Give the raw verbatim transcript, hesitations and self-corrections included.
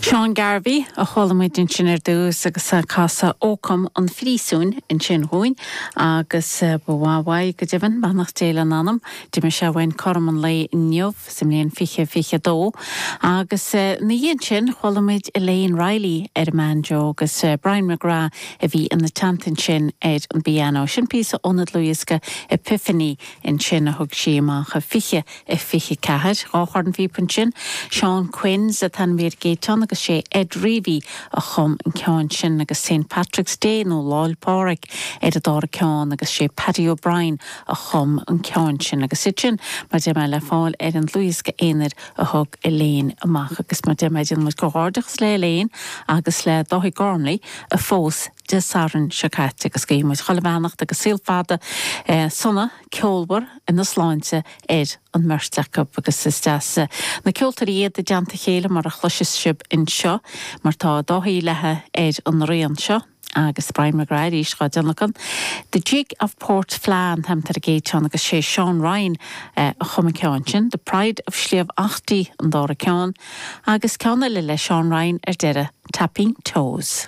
Seán Garvey a chuala muid ansin ar dtús agus casadh Ócam an Phríosúin ansin dhúinn agus ba mhaith go deimhin beannacht Dé lena anam d'imigh sé uainn cothrom an lae inniu sa mbliain fiche fiche dó agus ina dhiaidh sin chuala muid Elaine Riley ar an mbanjo agus Brian McGrath a bhí ina teannta ansin ar an bpianó. Sin píosa óna dlúthdhiosca Epiphany ansin a thug sí amach fiche a fiche ceathair dhá chornphíopa ansin Seán Quinns atá an mhír géitán agus sé Ed Reavy a chum an ceann sin agus St Patrick's Day nó Lá 'le Pádraig ar an dara ceann agus sé Paddy O'Brien a chum an ceann sin agus iad sin mar deir mé le fáil ar an dlúthdhiosca aonair a thug Elaine amach agus mar deir mé déanaimid comhghairdeachas le Elaine agus le Dáithí Gormley a phós Dé Sathairn seo caite agus guímid chuile bheannacht agus saol fada eh, sona ceolmhar ina sláinte ar an mbeirt acu agus is deas na ceoltóirí iad i dteannta chéile mar a chloiseann sibh anseo mar tá Dáithí léithe ar an rian seo agus Brian McGrath arís dhá tionlacan. The Jig of Port Flan an t-ainm ar an gcéad cheann agus sé Sean Ryan eh, a chum an ceann sin, The Pride of Sliabh Achtaí an dara ceann, agus ceann eile le Sean Ryan ar deireadh Tapping Toes.